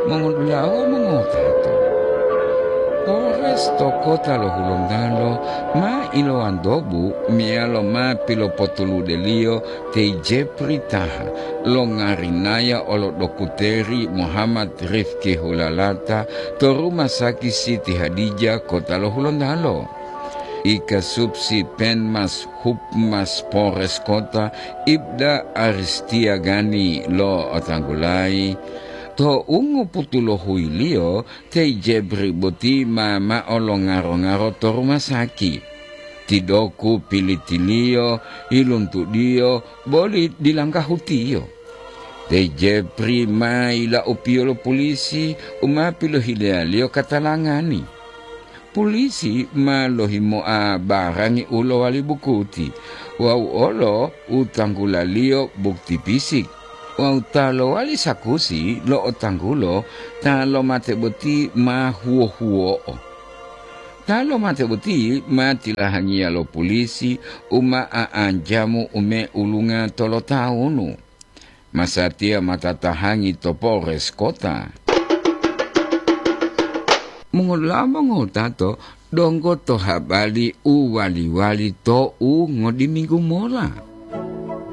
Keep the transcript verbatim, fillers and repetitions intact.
Mongotulawa mongowutato, Polres to kota lo Hulontalo ma ilowantobu meyalo ma pilopotuludeliyo te Jepri Taha, longarinaya olo dokuteri Muhammad Rifki Hulalata to Rumah Sakit Siti Hadijah, kota lo Hulontalo. Ikasupsi Penmas Hupmas Polres Kota, Ibda Aristia Gani lo otanggulayi, to ungoputulohuiliyo te Jebri boti ma mao lo ngaro-ngaro to rumah sakit. Tidoku pilitiliyo, yiluntudiyo, boli dilanggahutiyo. Te Jepri ma yilaupiyo lo pulisi u ma pilohileyaliyo katalangani. Pulisi ma lohimoa barangi u lowali bukuti wawu olo u tanggulaliyo bukti pisik, wawu ta lowali sakusi lo otanggulo ta lomate boti ma huwo-huwo'o. Ta lomate boti ma tilahangiya lo pulisi u ma a'anjamu u meulunga tolotawunu. Masatiya ma tatahangi to Polres Kota. Mongolamo ngotato donggo to habari u wali-wali to u ngodiminggu mola.